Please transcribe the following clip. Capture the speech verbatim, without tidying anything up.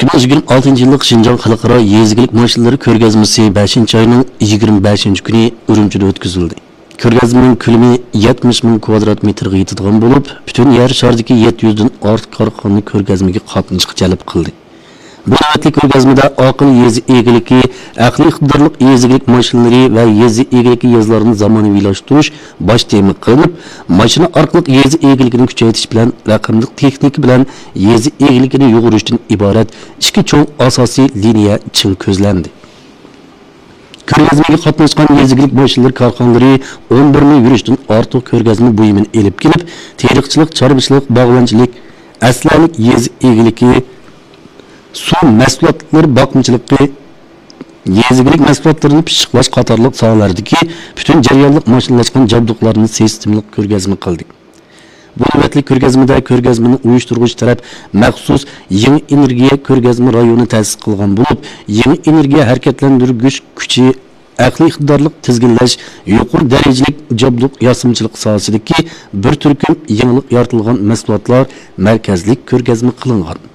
ئىككى مىڭ يىگىرمە ئالتىنچى يىللىق شىنجاڭ خەلقئارا يېزا ئىگىلىك ماشىنىلىرى كۆرگەزمىسى بەشىنچى ئاينىڭ يىگىرمە بەشىنچى كۈنى ئۈرۈمچىدە ئۆتكۈزۈلدى. كۆرگەزمىنىڭ كۆلىمى يەتمىش مىڭ كۋادرات مېتىرغا يېتىدىغان بولۇپ، پۈتۈن يەر شارىدىكى يەتتە يۈزدىن ئارتۇق كارخانا كۆرگەزمىگە قاتنىشىشقا جەلپ قىلدى. بۇ نۆۋەتلىك كۆرگەزمىدە ئاقىل يېزا ئىگىلىكى، ئەقلىي ئىقتىدارلىق يېزا ئىگىلىك ماشىنىلىرى ۋە يېزا ئىگىلىكى يېزىلارنى زامانىۋىلاشتۇرۇش باش تېما قىلىنىپ، ماشىنا ئارقىلىق يېزا ئىگىلىكىنى كۈچەيتىش بىلەن رەقەملىك تېخنىكا بىلەن يېزا ئىگىلىكىنى يۇغۇرۇشتىن ئىبارەت ئىككى چوڭ ئاساسىي لىنىيە چىڭ كۆزلەندى. كۆرگەزمىگە قاتناشقان يېزا ئىگىلىك ماشىنىلىرى كارخانىلىرى ئون بىر مىڭ يۈرۈشتىن ئارتۇق كۆرگەزمە بۇيۇمىنى ئېلىپ كېلىپ، تېرىقچىلىق، چارۋىچىلىق، باغۋەنچىلىك، ئەسلىھەلىك يېزا ئىگىلىكى، سۇ مەھسۇلاتلىرى باقمىچىلىقى، يېزا ئىگىلىك مەھسۇلاتلىرىنى پىششىقلاش قاتارلىق ساھەلەردىكى پۈتۈن جەريانلىق ماشىنىلاشقان جابدۇقلارنى سىستېمىلىق كۆرگەزمە قىلدى. بۇ نۆۋەتلىك كۆرگەزمىدە كۆرگەزمىنى ئۇيۇشتۇرغۇچى تەرەپ مەخسۇس يېڭى ئېنېرگىيە كۆرگەزمە رايونى تەسىس قىلغان بولۇپ، يېڭى ئېنېرگىيە ھەرىكەتلەندۈرگۈچ كۈچى، ئەقلىي ئىقتىدارلىق تىزگىنلەش، يۇقىرى دەرىجىلىك جابدۇق ياسىمىچىلىق ساھەسىدىكى بىر تۈركۈم يېڭىلىق يارىتىلغان مەھسۇلاتلار مەركەزلىك كۆرگەزمە قىلىنغان.